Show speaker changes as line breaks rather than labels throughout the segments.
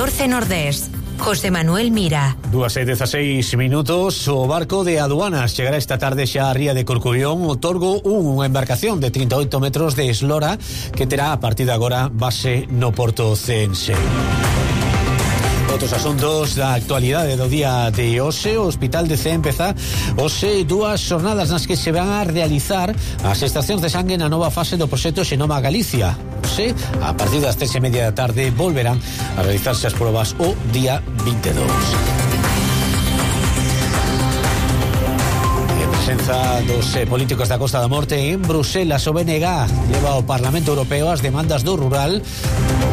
14 Nordés. José Manuel Mira.
2:16 minutos. O barco de aduanas chegará esta tarde xa a ría de Corcubión. Otorgo unha embarcación de 38 metros de eslora que terá a partir de agora base no porto ceense. Outros asuntos da actualidade do día de hoxe. O Hospital de Cee empeza hoxe dúas xornadas nas que se van a realizar as extraccións de sangue na nova fase do proxecto Xenoma Galicia. Hoxe, a partir das 3:30 da tarde, volverán a realizarse as probas o día 22. Presenza dos políticos da Costa da Morte en Bruselas. O BNG leva ao Parlamento Europeo as demandas do rural.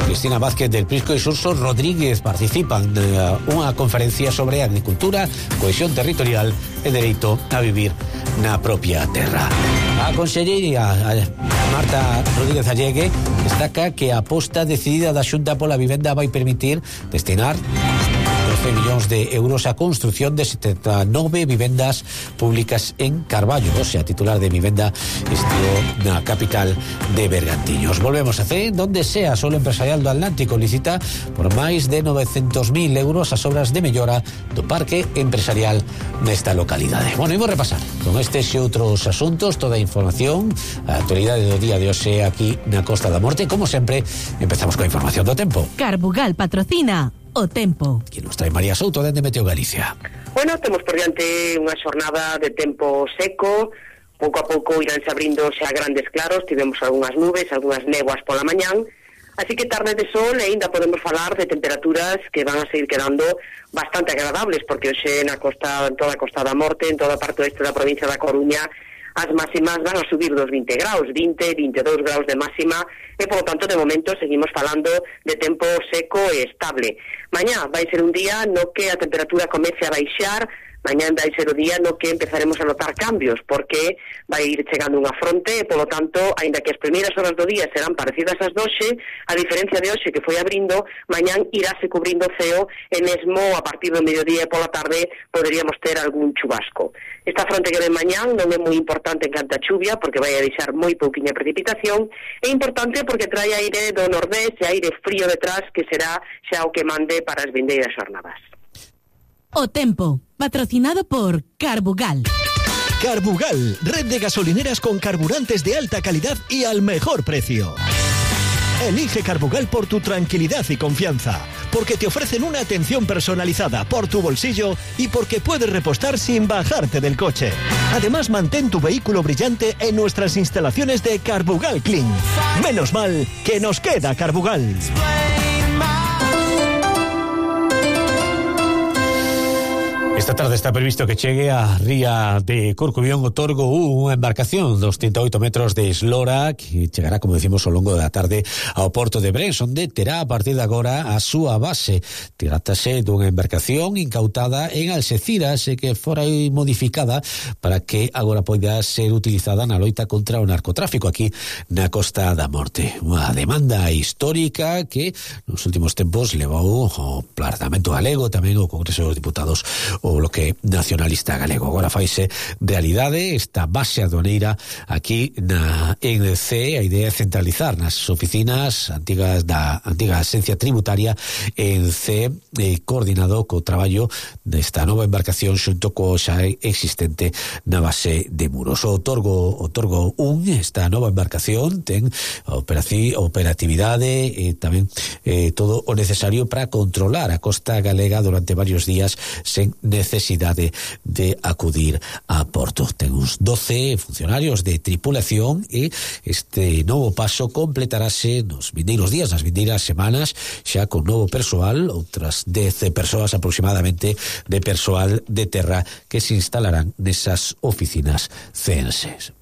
Cristina Vázquez del Prisco e Xurxo Rodríguez participan nunha conferencia sobre agricultura, cohesión territorial e dereito a vivir na propia terra. A conselleira Marta Rodríguez Allegue destaca que a aposta decidida da Xunta pola vivenda vai permitir destinar 12 millóns de euros a construción de 79 vivendas públicas en Carballo. O sea, titular de vivenda estivo na capital de Bergantiños. Volvemos a Cee, donde sea Solo Empresarial do Atlántico licita por máis de 900.000 euros as obras de mellora do parque empresarial nesta localidade. Bueno, imos repasar con estes e outros asuntos toda a información, a actualidade do día de hoxe aquí na Costa da Morte. Como sempre, empezamos coa información do tempo.
Carbugal patrocina o tempo.
Que nos trae María Souto dende Meteo Galicia.
Bueno, temos por diante unha xornada de tempo seco. Pouco a pouco iránse abrindo xa grandes claros. Tivemos algunhas nubes, algunhas néboas pola mañán. Así que tarde de sol e ainda podemos falar de temperaturas que van a seguir quedando bastante agradables, porque hoxe na costa, en toda a Costa da Morte, en toda a parte oeste da provincia da Coruña, as máximas van a subir dos 20 graus, 20, 22 graus de máxima, e, por lo tanto, de momento, seguimos falando de tempo seco e estable. Mañá vai ser un día no que a temperatura comece a baixar. Mañá vai ser o día no que empezaremos a notar cambios, porque vai ir chegando unha fronte e, polo tanto, aínda que as primeiras horas do día serán parecidas ás doxe, a diferencia de hoxe que foi abrindo, mañán iráse cubrindo o ceo e mesmo a partir do mediodía e pola tarde poderíamos ter algún chubasco. Esta fronte que ven mañán non é moi importante en canto a chuvia, porque vai a deixar moi pouquiña precipitación. É importante porque trae aire do nordés e aire frío detrás, que será xa o que mande para as vindeiras xornadas.
O tempo, patrocinado por Carbugal.
Carbugal, red de gasolineras con carburantes de alta calidad y al mejor precio. Elige Carbugal por tu tranquilidad y confianza, porque te ofrecen una atención personalizada por tu bolsillo y porque puedes repostar sin bajarte del coche. Además, mantén tu vehículo brillante en nuestras instalaciones de Carbugal Clean. Menos mal que nos queda Carbugal.
Esta tarde está previsto que chegue a ría de Corcubión Otorgo unha embarcación dos 38 metros de eslora que chegará, como decimos, ao longo da tarde ao porto de Brens, onde terá a partir de agora a súa base. Trátase dunha embarcación incautada en Alxeciras e que fora modificada para que agora poida ser utilizada na loita contra o narcotráfico aquí na Costa da Morte. Unha demanda histórica que nos últimos tempos levou o Parlamento Galego, tamén o Congreso dos Diputados, o Bloque Nacionalista Galego. Agora faise realidade esta base aduaneira aquí en Cee. A idea é centralizar nas oficinas antigas da antiga Axencia Tributaria en Cee, coordinado co traballo desta nova embarcación xunto co xa existente na base de Muros. O Otorgo 1, esta nova embarcación, ten operatividade e tamén todo o necesario para controlar a costa galega durante varios días sen necesidade de acudir a porto. Ten uns 12 funcionarios de tripulación e este novo paso completarase nos vindeiros días, nas vindeiras semanas, xa con novo persoal, outras 10 persoas aproximadamente de persoal de terra que se instalarán nesas oficinas ceenses.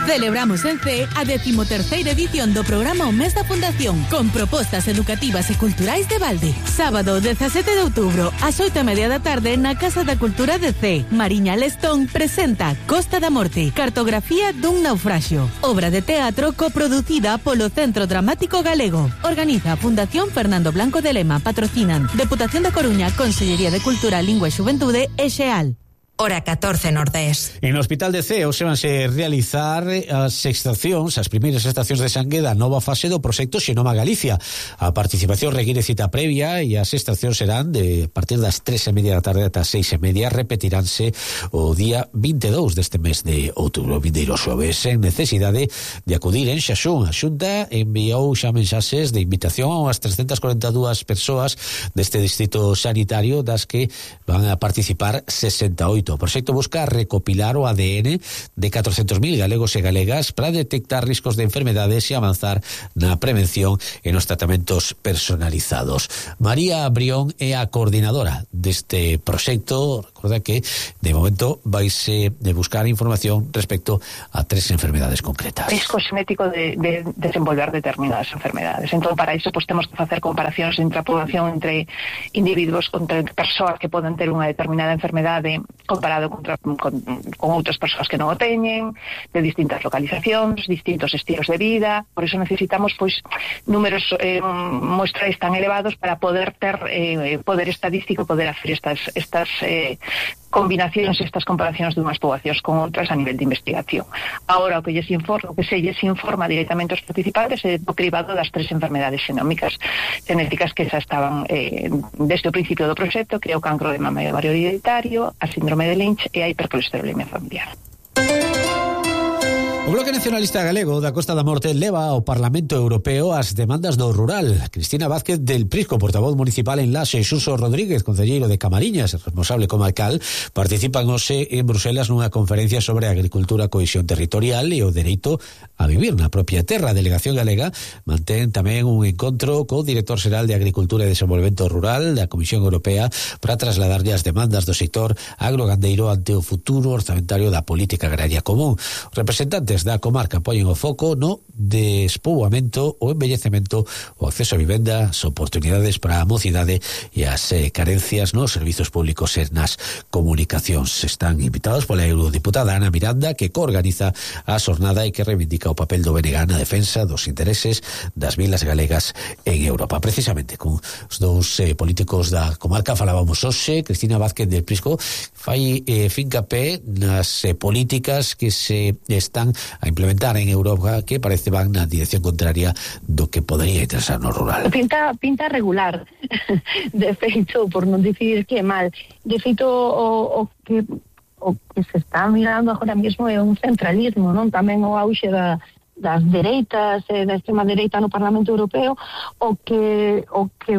Celebramos en Cee a 13ª edición do programa O Mes da Fundación, con propostas educativas e culturais de balde. Sábado 17 de outubro, ás 8:30 da tarde, na Casa da Cultura de Cee. Mariña Lestón presenta Costa da Morte, cartografía dun naufraxio. Obra de teatro coproducida polo Centro Dramático Galego. Organiza a Fundación Fernando Blanco de Lema. Patrocinan Deputación da Coruña, Consellería de Cultura, Lingua e Xuventude e Xeal.
hora 14 Nordés.
En o Hospital de Ceo se vanse realizar as primeiras extraccións de sangue da nova fase do proxecto Xenoma Galicia. A participación require cita previa e as extraccións serán de partir das 3:30 da tarde ata 6:30. Repetiránse o día 22 deste mes de outubro, vindeiro xoves, sen necesidade de acudir en Xaxún. A Xunta enviou xa mensaxes de invitación ás 342 persoas deste distrito sanitario, das que van a participar 68. O proxecto busca recopilar o ADN de 400.000 galegos e galegas para detectar riscos de enfermedades e avanzar na prevención e nos tratamentos personalizados. María Brión é a coordinadora deste proxecto. Recorda que de momento vaise de buscar información respecto a 3 enfermedades concretas.
Risco xenético de desenvolver determinadas enfermedades. Entón, para iso, pues, temos que facer comparacións entre a población, entre individuos, entre persoas que poden ter unha determinada enfermedade comparado con outras persoas que non o teñen, de distintas localizacións, distintos estilos de vida. Por iso necesitamos, pois, números muestrais tan elevados para poder ter poder estadístico, poder hacer estas combinacións, estas comparacións de unhas poboacións con outras a nivel de investigación. Agora, o que se lles informa directamente aos participantes é do cribado das 3 enfermedades genéticas que xa estaban desde o principio do proxecto, que é o cancro de mama e ovario hereditario, a síndrome de Lynch e a hipercolesterolemia familiar.
O Bloque Nacionalista Galego da Costa da Morte leva ao Parlamento Europeo as demandas do rural. Cristina Vázquez del Prisco, portavoz municipal en Laxe, e Xurxo Rodríguez, concelleiro de Camariñas, responsable comarcal, participan hoxe en Bruselas nunha conferencia sobre agricultura, cohesión territorial e o dereito a vivir na propia terra. A delegación galega mantén tamén un encontro co director xeral de Agricultura e Desenvolvemento Rural da Comisión Europea para trasladarlle as demandas do sector agrogandeiro ante o futuro orzamentario da política agraria común. Os representantes da comarca poñen o foco no despoboamento, o envellecemento, o acceso a vivenda, as oportunidades para a mocidade e as carencias nos servizos públicos e nas comunicacións. Están invitados pola eurodiputada Ana Miranda, que coorganiza a xornada e que reivindica o papel do BNG na defensa dos intereses das vilas galegas en Europa. Precisamente con os dous políticos da comarca falábamos hoxe. Cristina Vázquez del Prisco fai fincapé nas políticas que se están a implementar en Europa, que parece van na dirección contraria do que podería interesar no rural.
Pinta regular. De feito, por non dicir que é mal, de feito o que se está mirando agora mesmo é un centralismo, non? Tamén o auxe das dereitas e da extrema dereita no Parlamento Europeo, o que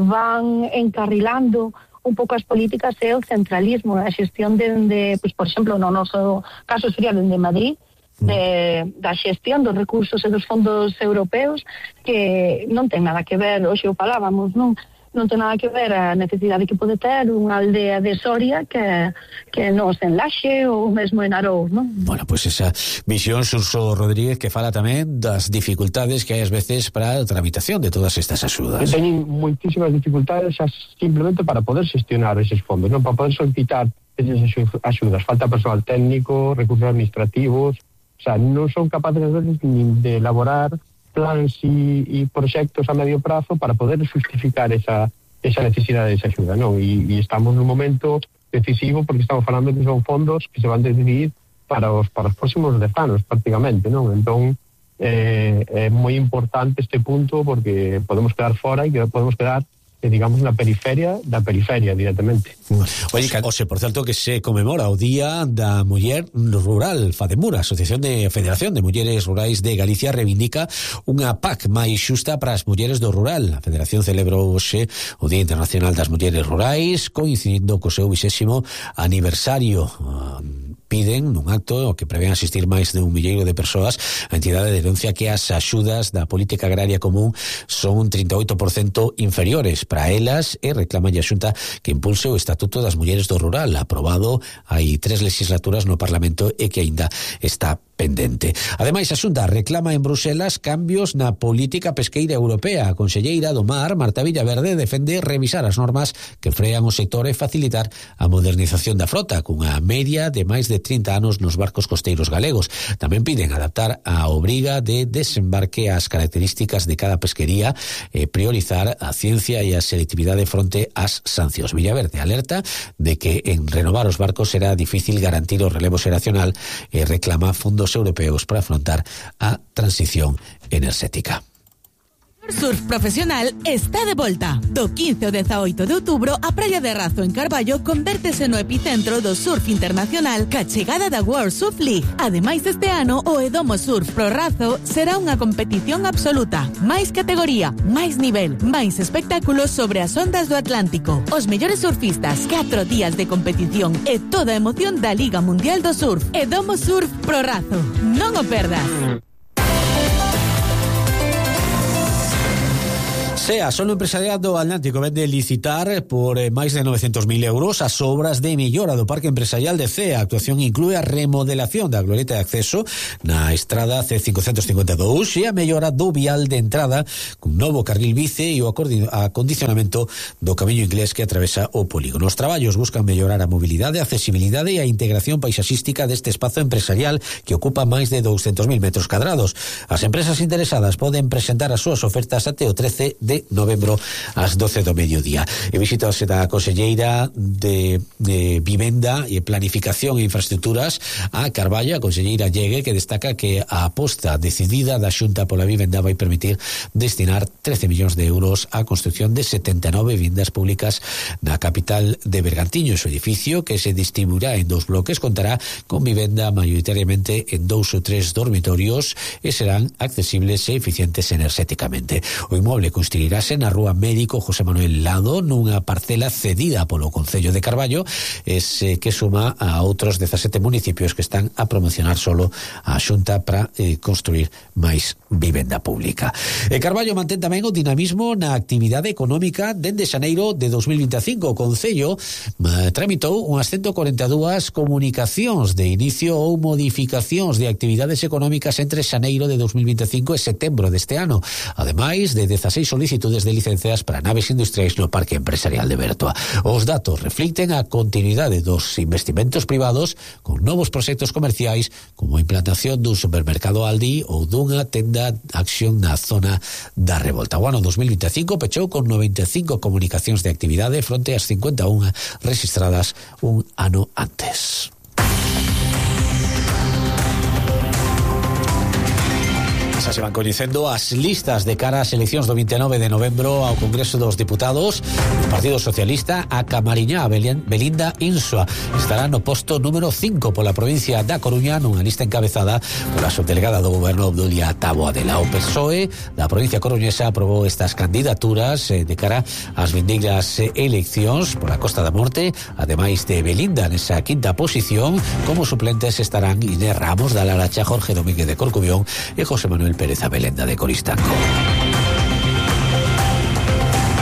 van encarrilando un pouco as políticas é o centralismo, a xestión pues, por exemplo, no noso caso sería dende Madrid, da xestión dos recursos e dos fondos europeos, que non ten nada que ver, hoxe o falábamos, non ten nada que ver a necesidade que pode ter unha aldea de Soria que nos en Laxe ou mesmo en Arou, non?
Bueno, pues esa visión, Xurxo Rodríguez, que fala tamén das dificultades que hai ás veces para a tramitación de todas estas axudas.
Teñen moitísimas dificultades simplemente para poder xestionar eses fondos, non? Para poder solicitar esas axudas. Falta personal técnico, recursos administrativos. O sea, non son capaces de elaborar plans e proxectos a medio prazo para poder justificar esa necesidade de esa axuda, non? E estamos nun momento decisivo porque estamos falando que son fondos que se van a decidir para os próximos 10 anos, prácticamente, non? Entón, é moi importante este punto porque podemos quedar fora e que podemos quedar digamos na periferia da periferia directamente.
Oye, por certo que se conmemora o Día da Muller Rural. Fademura, Federación de Mulleres Rurais de Galicia, reivindica unha PAC máis xusta para as mulleres do rural. A Federación celebrou hoxe o Día Internacional das Mulleres Rurais, coincidindo co seu 20º aniversario. Piden nun acto o que prevén asistir máis de 1 milleiro de persoas. A entidade denuncia que as axudas da política agraria común son un 38% inferiores para elas e reclama a Xunta que impulse o Estatuto das Mulleres do Rural, aprobado hai 3 legislaturas no Parlamento e que aínda está pendente. Ademais, a Xunta reclama en Bruselas cambios na política pesqueira europea. A conselleira do Mar, Marta Villaverde, defende revisar as normas que frean o sector e facilitar a modernización da frota, cunha media de máis de 30 anos nos barcos costeiros galegos. Tamén piden adaptar a obriga de desembarque ás características de cada pesquería e priorizar a ciencia e a selectividade fronte ás sancións. Villaverde alerta de que en renovar os barcos será difícil garantir o relevo xeracional e reclama fondos europeos para afrontar a transición enerxética.
Surf Profesional está de volta. Do 15 ao 18 de outubro, a Praia de Razo en Carballo convértese no epicentro do surf internacional ca chegada da World Surf League. Ademais, este ano, o Edomo Surf Pro Razo será unha competición absoluta. Máis categoría, máis nivel, máis espectáculos sobre as ondas do Atlántico. Os mellores surfistas, 4 días de competición e toda a emoción da Liga Mundial do Surf. Edomo Surf Pro Razo. Non o perdas.
SEA, solo empresariado Atlántico vende licitar por máis de 900.000 euros as obras de mellora do Parque Empresarial de CEA. A actuación inclúe a remodelación da glorieta de acceso na estrada C552 e a mellora do vial de entrada cun novo carril bici e o acondicionamento do camiño inglés que atravesa o polígono. Os traballos buscan mellorar a mobilidade, a accesibilidade e a integración paisaxística deste espazo empresarial que ocupa máis de 200.000 metros cadrados. As empresas interesadas poden presentar as súas ofertas até o 13 de novembro ás 12 do mediodía. E visitase da conselleira de Vivenda e Planificación e Infraestructuras a Carballo, a conselleira Llegue, que destaca que a aposta decidida da Xunta pola vivenda vai permitir destinar 13 millóns de euros á construcción de 79 vivendas públicas na capital de Bergantiño. O edificio, que se distribuirá en 2 bloques, contará con vivenda maioritariamente en 2 ou 3 dormitorios e serán accesibles e eficientes enerxéticamente. O inmoble construirase na Rúa Médico José Manuel Lado, nunha parcela cedida polo Concello de Carballo, que suma a outros 17 municipios que están a promocionar solo a Xunta para construir máis vivenda pública. Carballo mantén tamén o dinamismo na actividade económica dende xaneiro de 2025. O Concello tramitou unhas 142 comunicacións de inicio ou modificacións de actividades económicas entre xaneiro de 2025 e setembro deste ano, ademais de 16 solicitudes de licencias para naves industriais no Parque Empresarial de Bertoa. Os datos reflicten a continuidade dos investimentos privados con novos proxectos comerciais como a implantación dun supermercado Aldi ou dunha tenda Action na zona da Revolta. O ano 2025 pechou con 95 comunicacións de actividade fronte ás 51 registradas un ano antes. Se van coñecendo as listas de cara ás eleccións do 29 de novembro ao Congreso dos Diputados. O Partido Socialista, a Camariñá, Belinda Insua, estará no posto número 5 pola provincia da Coruña nunha lista encabezada pola subdelegada do Goberno Obdulia Taboadela. O PSOE da provincia coruñesa aprobou estas candidaturas de cara ás vindeiras eleccións pola Costa da Morte. Ademais de Belinda nesa quinta posición, como suplentes estarán Inés Ramos da Laracha, Jorge Domínguez de Corcubión e José Manuel Pérez Abelenda de Coristanco.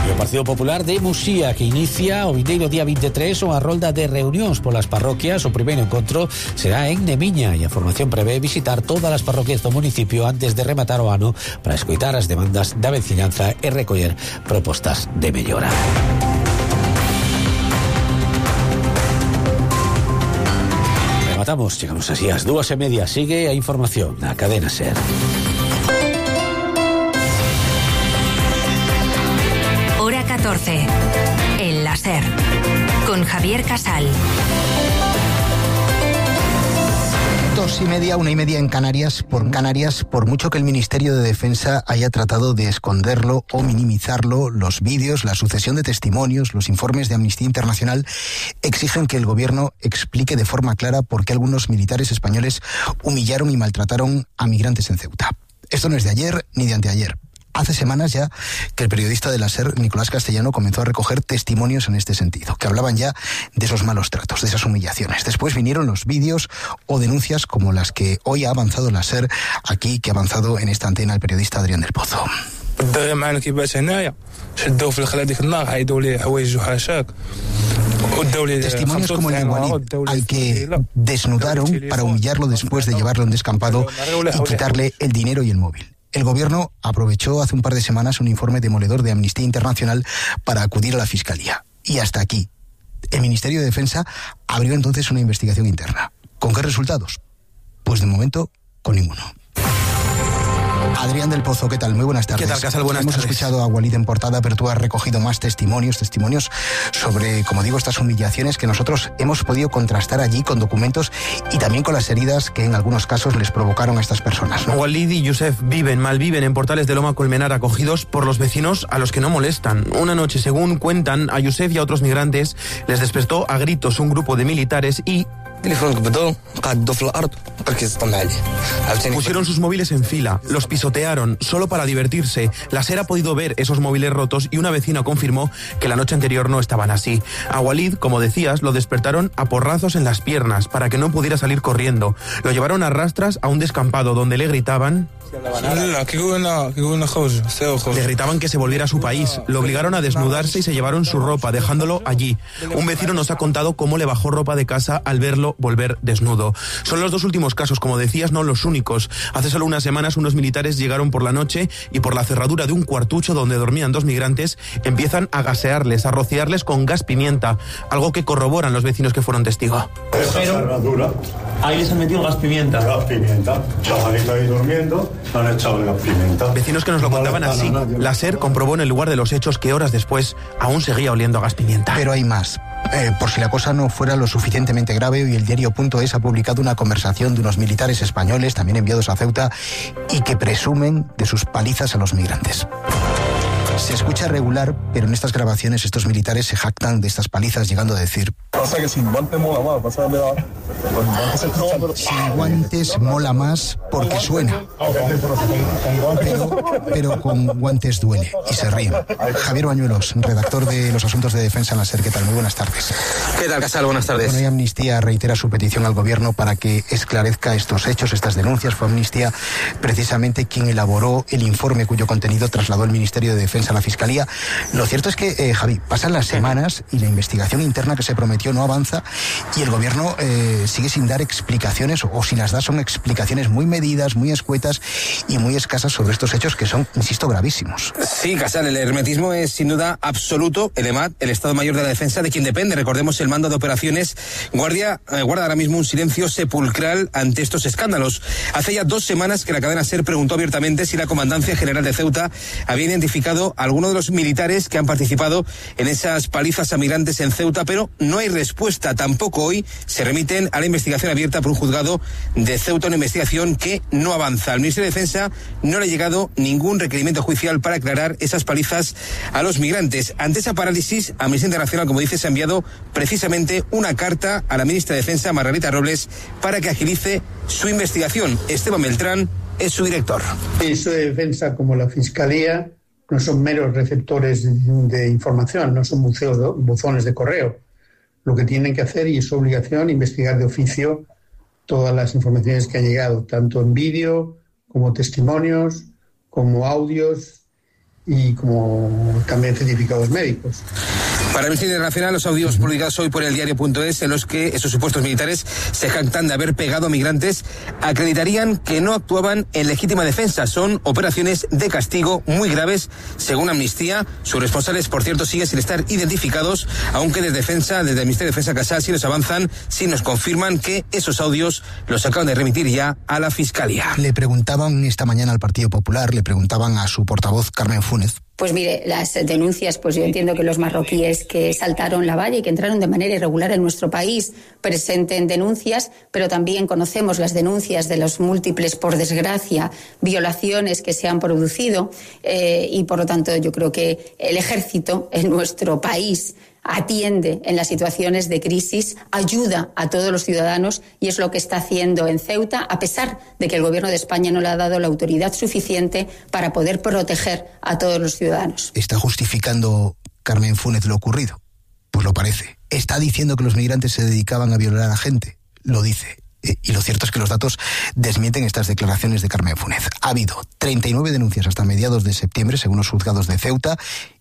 O Partido Popular de Muxía, que inicia o vindeiro día 23 unha rolda de reunións polas parroquias. O primeiro encontro será en Nemiña e a formación prevé visitar todas as parroquias do municipio antes de rematar o ano para escoitar as demandas da veciñanza e recoller propostas de mellora. Rematamos, chegamos así ás 2:30. Sigue a información na cadena SER.
Hora 14. El láser. Con Javier Casal.
2:30, 1:30 en Canarias. Por mucho que el Ministerio de Defensa haya tratado de esconderlo o minimizarlo, los vídeos, la sucesión de testimonios, los informes de Amnistía Internacional exigen que el gobierno explique de forma clara por qué algunos militares españoles humillaron y maltrataron a migrantes en Ceuta. Esto no es de ayer ni de anteayer. Hace semanas ya que el periodista de la SER, Nicolás Castellano, comenzó a recoger testimonios en este sentido, que hablaban ya de esos malos tratos, de esas humillaciones. Después vinieron los vídeos o denuncias como las que hoy ha avanzado la SER aquí, que ha avanzado en esta antena el periodista Adrián del Pozo. Testimonios como el de Walid, al que desnudaron para humillarlo después de llevarlo a un descampado y quitarle el dinero y el móvil. El gobierno aprovechó hace un par de semanas un informe demoledor de Amnistía Internacional para acudir a la Fiscalía. Y hasta aquí. El Ministerio de Defensa abrió entonces una investigación interna. ¿Con qué resultados? Pues de momento, con ninguno. Adrián del Pozo, ¿qué tal? Muy buenas tardes.
¿Qué tal, Casal? Buenas tardes.
Hemos escuchado a Walid en portada, pero tú has recogido más testimonios sobre, como digo, estas humillaciones que nosotros hemos podido contrastar allí con documentos y también con las heridas que en algunos casos les provocaron a estas personas, ¿no?
Walid y Youssef malviven en Portales de Loma Colmenar, acogidos por los vecinos a los que no molestan. Una noche, según cuentan, a Youssef y a otros migrantes les despertó a gritos un grupo de militares y pusieron sus móviles en fila, los pisotearon, solo para divertirse. La SER ha podido ver esos móviles rotos y una vecina confirmó que la noche anterior no estaban así. A Walid, como decías, lo despertaron a porrazos en las piernas para que no pudiera salir corriendo. Lo llevaron a rastras a un descampado donde le gritaban... Le gritaban que se volviera a su país, lo obligaron a desnudarse y se llevaron su ropa, dejándolo allí. Un vecino nos ha contado cómo le bajó ropa de casa al verlo volver desnudo. Son los dos últimos casos, como decías, no los únicos. Hace solo unas semanas unos militares llegaron por la noche y por la cerradura de un cuartucho donde dormían dos migrantes empiezan a gasearles, a rociarles con gas pimienta, algo que corroboran los vecinos que fueron testigos.
Pero ahí les han metido gas pimienta. Gas pimienta, chavalito ahí durmiendo. Han echado gas pimienta.
Vecinos que nos lo contaban así. La SER comprobó en el lugar de los hechos que horas después aún seguía oliendo a gas pimienta.
Pero hay más. Por si la cosa no fuera lo suficientemente grave, hoy el diario.es ha publicado una conversación de unos militares españoles, también enviados a Ceuta, y que presumen de sus palizas a los migrantes. Se escucha regular, pero en estas grabaciones estos militares se jactan de estas palizas, llegando a decir:
pasa que sin guantes mola más,
sin guantes mola más porque suena, pero con guantes duele, y se ríen. Javier Bañuelos, redactor de los asuntos de defensa en la SER, ¿qué tal? Muy buenas tardes.
¿Qué tal, Casal? Buenas tardes.
Bueno, y Amnistía reitera su petición al gobierno para que esclarezca estos hechos, estas denuncias. Fue Amnistía precisamente quien elaboró el informe cuyo contenido trasladó el Ministerio de Defensa a la Fiscalía. Lo cierto es que, Javi, pasan las semanas y la investigación interna que se prometió no avanza y el gobierno sigue sin dar explicaciones, o si las da son explicaciones muy medidas, muy escuetas y muy escasas sobre estos hechos que son, insisto, gravísimos.
Sí, Casal, el hermetismo es sin duda absoluto. El EMAD, el Estado Mayor de la Defensa, de quien depende, recordemos, el mando de operaciones, guarda ahora mismo un silencio sepulcral ante estos escándalos. Hace ya 2 semanas que la cadena SER preguntó abiertamente si la Comandancia General de Ceuta había identificado a alguno de los militares que han participado en esas palizas a migrantes en Ceuta, pero no hay respuesta. Tampoco hoy se remiten a la investigación abierta por un juzgado de Ceuta, una investigación que no avanza. Al Ministerio de Defensa no le ha llegado ningún requerimiento judicial para aclarar esas palizas a los migrantes. Ante esa parálisis, Amnistía Internacional, como dices, ha enviado precisamente una carta a la ministra de Defensa, Margarita Robles, para que agilice su investigación. Esteban Beltrán es su director.
El Ministerio de Defensa, como la Fiscalía, no son meros receptores de información, no son buzones de correo. Lo que tienen que hacer, y es su obligación, investigar de oficio todas las informaciones que han llegado, tanto en vídeo, como testimonios, como audios y como también certificados médicos.
Para Amnistía Internacional, los audios publicados hoy por el diario.es, en los que esos supuestos militares se jactan de haber pegado a migrantes, acreditarían que no actuaban en legítima defensa. Son operaciones de castigo muy graves, según Amnistía. Sus responsables, por cierto, siguen sin estar identificados, aunque desde el Ministerio de Defensa, Casal, sí nos avanzan, sí nos confirman que esos audios los acaban de remitir ya a la Fiscalía.
Le preguntaban esta mañana al Partido Popular, le preguntaban a su portavoz, Carmen Fúnez.
Pues mire, las denuncias, pues yo entiendo que los marroquíes que saltaron la valla y que entraron de manera irregular en nuestro país presenten denuncias, pero también conocemos las denuncias de los múltiples, por desgracia, violaciones que se han producido y por lo tanto yo creo que el ejército en nuestro país atiende en las situaciones de crisis, ayuda a todos los ciudadanos y es lo que está haciendo en Ceuta, a pesar de que el Gobierno de España no le ha dado la autoridad suficiente para poder proteger a todos los ciudadanos.
¿Está justificando Carmen Fúnez lo ocurrido? Pues lo parece. ¿Está diciendo que los migrantes se dedicaban a violar a gente? Lo dice. Y lo cierto es que los datos desmienten estas declaraciones de Carmen Fúnez. Ha habido 39 denuncias hasta mediados de septiembre, según los juzgados de Ceuta,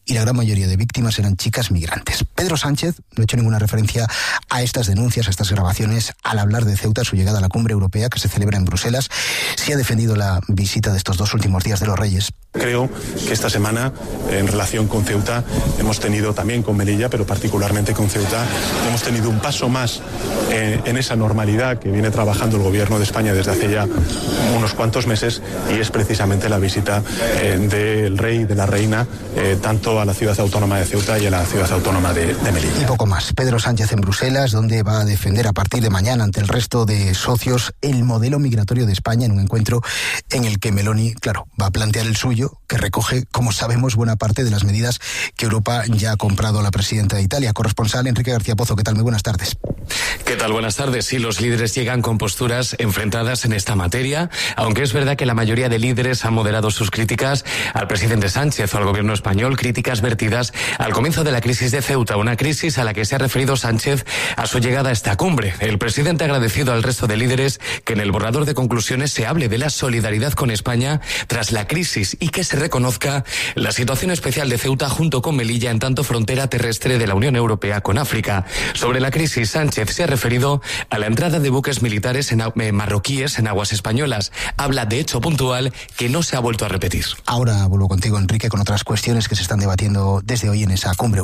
y la gran mayoría de víctimas eran chicas migrantes. Pedro Sánchez no ha hecho ninguna referencia a estas denuncias, a estas grabaciones, al hablar de Ceuta, su llegada a la cumbre europea que se celebra en Bruselas. Sí ha defendido la visita de estos 2 últimos días de los Reyes.
Creo que esta semana, en relación con Ceuta, hemos tenido también con Melilla, pero particularmente con Ceuta, hemos tenido un paso más en esa normalidad que viene trabajando el Gobierno de España desde hace ya unos cuantos meses, y es precisamente la visita del rey y de la reina tanto a la ciudad autónoma de Ceuta y a la ciudad autónoma de Melilla.
Y poco más. Pedro Sánchez en Bruselas, donde va a defender a partir de mañana ante el resto de socios el modelo migratorio de España, en un encuentro en el que Meloni, claro, va a plantear el suyo, que recoge, como sabemos, buena parte de las medidas que Europa ya ha comprado a la presidenta de Italia. Corresponsal Enrique García Pozo, ¿qué tal? Muy buenas tardes.
¿Qué tal? Buenas tardes. Sí, los líderes llegan con posturas enfrentadas en esta materia, aunque es verdad que la mayoría de líderes han moderado sus críticas al presidente Sánchez o al gobierno español, críticas vertidas al comienzo de la crisis de Ceuta, una crisis a la que se ha referido Sánchez a su llegada a esta cumbre. El presidente ha agradecido al resto de líderes que en el borrador de conclusiones se hable de la solidaridad con España tras la crisis y que se reconozca la situación especial de Ceuta junto con Melilla, en tanto frontera terrestre de la Unión Europea con África. Sobre la crisis, Sánchez se ha referido a la entrada de buques militares marroquíes en aguas españolas. Habla de hecho puntual que no se ha vuelto a repetir.
Ahora vuelvo contigo, Enrique, con otras cuestiones que se están debatiendo desde hoy en esa cumbre europea.